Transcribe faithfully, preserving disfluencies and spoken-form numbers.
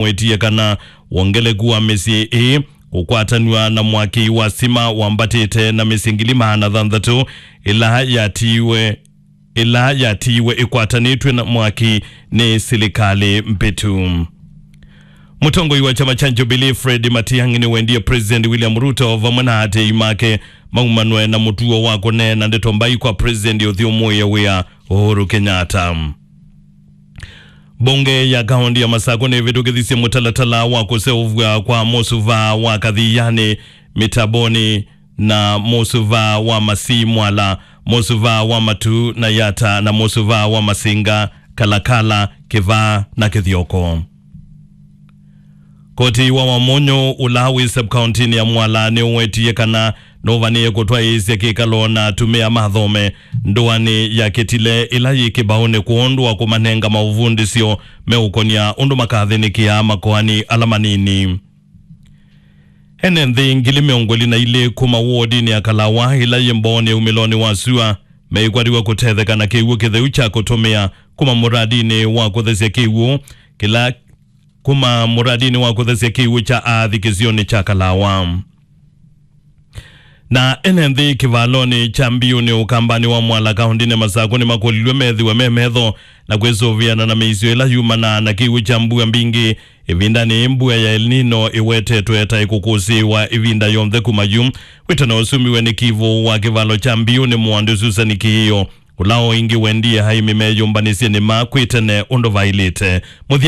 nĩwetie kana wongeleku wa mĩsyĩ ĩĩ kũkwatanw'a na mwaki wa sima wambatĩte na mĩsyĩ ngili maana thanthatũ ĩla yatiiwe ĩla yatiiwe ĩkwatanĩtw'e na mwaki nĩ silikalĩ mbĩtu. Mũtongoi wa kyama kya Jubilee Fred Matiang'i nĩwendie President William Ruto vamwe na aatĩĩi make maumanwe na mũtuo wa kũneena ndeto mbai kwa President ũthyũmũĩe wĩa Uhuru Kenyatta. Mbunge ya kaũnti ya Masakũ nĩvĩtũkĩthisye mũtalatala wa kũseũvw'a kwa mũsuvaa wa Kathianĩ, Mĩtabonĩ, na mũsuvaa wa Masii Mwala, mũsuvaa wa Matu na Yata, na mũsuvaa wa Masinga, Kalakala, Kĩvaa, na Kĩthyoko. Koti wa Wamunyu, ũla wĩ sub-kauntinĩ ya Mwala, nĩũwetie kana nũvanĩĩe kũtwaĩĩsya kĩkalo na atumĩa mathome ndũanĩ ya Kĩtile ĩla yĩ kĩvaũnĩ kwondũ wa kũmanenga maũvundĩsyo meũkonya ũndũ makathĩnĩkĩaa makoani ala manini. Ene nthĩ ngili mĩongo ĩlĩ na ilĩ kuma wodinĩ ya Kalawa ĩla yĩ Mbooni umĩlonĩ wa sua meikwatiw'a kũtetheka na kĩw'ũ kĩtheu kya kũtũmĩa kuma mũradinĩ wa kũthesya kĩw'ũ kĩla kuma mũradinĩ wa kũthesya kĩw'ũ kya aathi kĩsionĩ kya Kalawa. Na ene nthĩ kĩvalonĩ kya Mbiunĩ ũkambanĩ wa Mwala kaũndĩnĩ Masakũ nĩmakũlilw'e methĩwe me metho na kwĩsũvĩana na mĩisyo ĩla yumanaa na kĩw'ũ kya mbua mbingĩ ĩvindanĩ ĩĩ mbua ya El Nino ĩwetetwe ta ĩkũkũsĩĩwa ĩvinda yonthe kuma yu. Wĩtano ũsumiwe nĩ kivũ wa kĩvalo kya Mbiunĩ Mũandũ Susan Kĩĩo, ũla o ĩngĩ wendie aĩmi meyũmbanĩsye nĩma kwĩ tene ũndũ vaĩlĩte. Mũthya